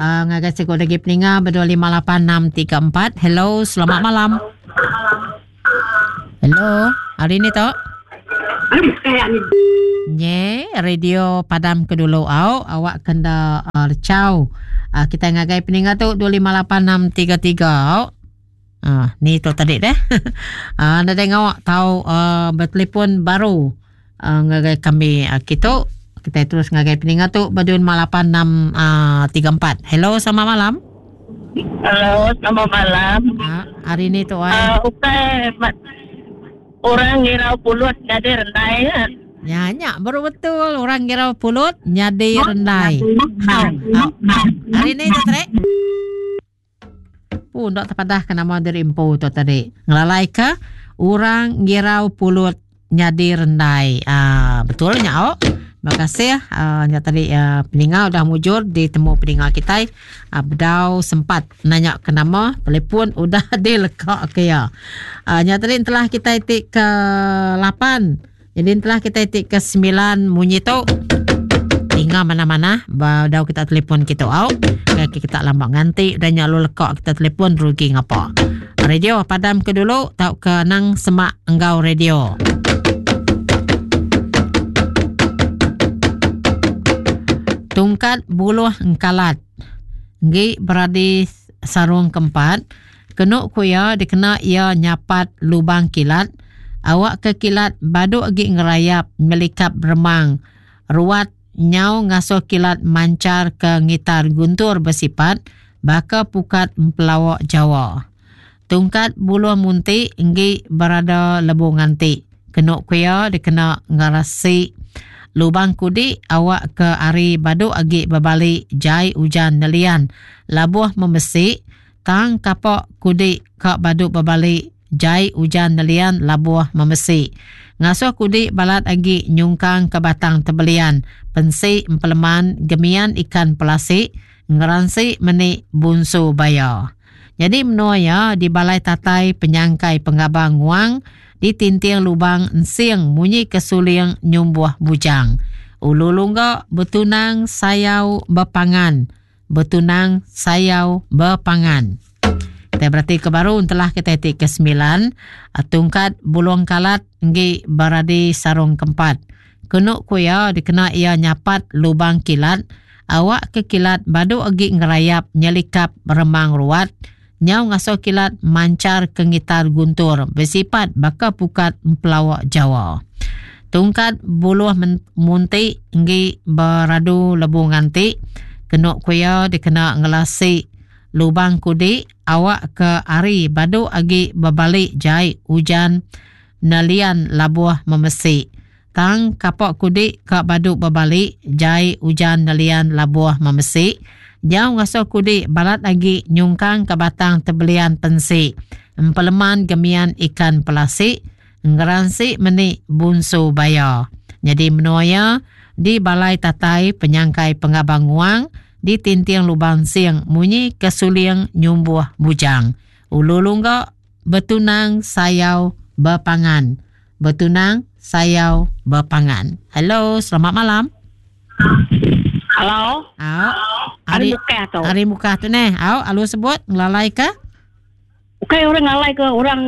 Uh, ngagai siku lagi peninga berdua 58634. Hello, selamat malam. Hello, hari ni tu? Nye, radio padam ke dulu au, awak kena uh, lecau. Uh, kita ngagai peninga tu 258633 au. Uh, ni tu tadi deh. uh, nadai ngawak tau uh, bertelefon baru uh, ngagai kami uh, kitu. Kita terus ngagai peninga tu ba 2586 uh, 34. Hello, selamat malam. Hello, selamat malam. Uh, hari ni tu ai. Uh, ukai orang ngirau pulut nyadi rendai ya. Ya, nya baru betul orang ngirau pulut nyadi rendai. Ha, hari ni tu tadi. Pu enda tepadah ke nama diri empu tu tadi. Ngelalai ke orang ngirau pulut nyadi rendai. Ah betul nya ok. Terima kasih uh, nya tadi uh, peninga udah mujur ditemu peninga kitai uh, bedau sempat nanya ke nama telefon udah dileka ke iya. Uh, nya tadi telah kitai ti ke 8. Jadi telah kitai ti ke 9 munyi tu Ninga mana-mana bedau kita telefon kita au. Ke kita lama nganti udah nya lu leka kita telefon rugi ngapa. Radio padam ke dulu tau ke nang semak enggau radio. Tungkat buluh engkalat. Enggi beradi sarung keempat. Kenu ku iya dikena iya nyapat lubang kilat awakka kilat badu agi ngerayap nyelikap remang ruat nyau ngasuh kilat manchar ke ngitar guntur besipat baka pukat empelawa Jawa. Tungkat buluh munti enggi berada lebu nganti. Kenu ku iya dikena ngerasi lubang kudi awakka ari badu agi bebali jai ujan nelian labuh memesi Tang kapak kudi ka badu bebali jai ujan nelian labuh memesi. Ngasuh kudi balat agi nyungkang ke batang tebelian pensi empeleman gemian ikan pelasi ngeransi meni bunsu baya. Nyadi menua iya di balai tatai penyangkai pengabang nguang di tinting lubang ensing munyi ke suling nyumbuh bujang. Ulu lungga betunang sayau bepangan. Betunang sayau bepangan. Kita berati ke baru entelah kita ti ke sembilan tungkat bulung kalat enggi beradi sarung kempat. Kenu ku iya dikena iya nyapat lubang kilat awak ke kilat badu agi ngerayap nyelikap remang ruat nyau ngasuh kilat manchar ke ngitar guntur besipat baka pukat empelawa Jawa. Tungkat buluh munti enggi beradu lebu nganti kenu ku iya dikena ngelasi lubang kudi awak ke ari badu agi bebali jai ujan nelian labuh memesi. Tang kapak kudi ka badu bebali jai ujan nelian labuh memesi nyau ngasuh kudi balat agi nyungkang ka batang tebelian pensi empeleman gemian ikan pelasi ngeransi meni bunsu baya. Nyadi menua iya di balai tatai penyangkai pengabang nguang di tinting lubang sing munyi kesuling nyumbuh bujang. Ulu lungga betunang sayau bepangan. Betunang sayau bepangan. Hello, selamat malam. Hello. Au. Hari Mukah tu. Hari Mukah tu neh. Au, alu sebut ngelalai ke? Ukai orang ngalai ke orang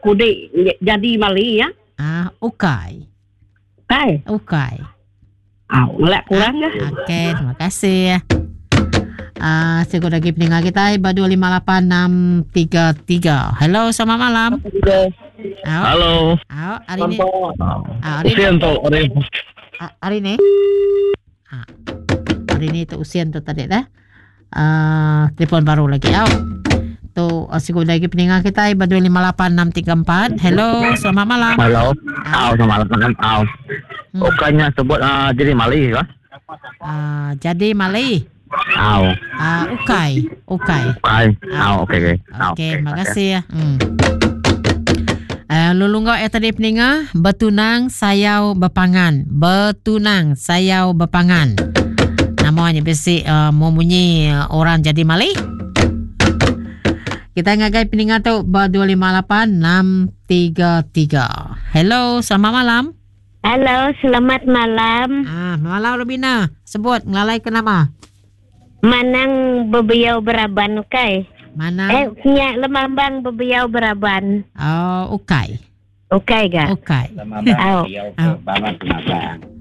kudik jadi mali ya? Ah, ukai. Ukai. Ukai. Au, ngelak kurang ke? Okey, terima kasih. Ah, uh, siku lagi pendengar kita ba 258633. Hello, selamat malam. Au. Halo. Au, hari ni. Ah, hari ni. tu, hari. Hari ni. Ah. Hari ni tu usian tu tadi dah. Uh, telefon baru lagi. Au. Tu uh, siku lagi pendengar kita ba 258634. Hello, selamat malam. Halo. Au, selamat malam. Au. Bukannya sebut uh, jadi mali ke? Uh, jadi mali. Au. Uh, ukai, ukai. Ukai. Au, okey okey. Okey, terima kasih ya. Hmm. Uh, lulunggak ya tadi peninga bertunang sayau berpangan bertunang sayau berpangan namanya bisi uh, memunyi uh, orang jadi mali kita ngagai peninga tu ba 258 633 hello selamat malam Hello, selamat malam. Ah, malam Rubina. Sebut ngelalai ke nama? Manang bebiau beraban ukai. Manang. Eh nya lemambang bebiau beraban. Oh ukai. Ukai ga. Ukai. Lemambang Au. bebiau ke Au. bala pengabang.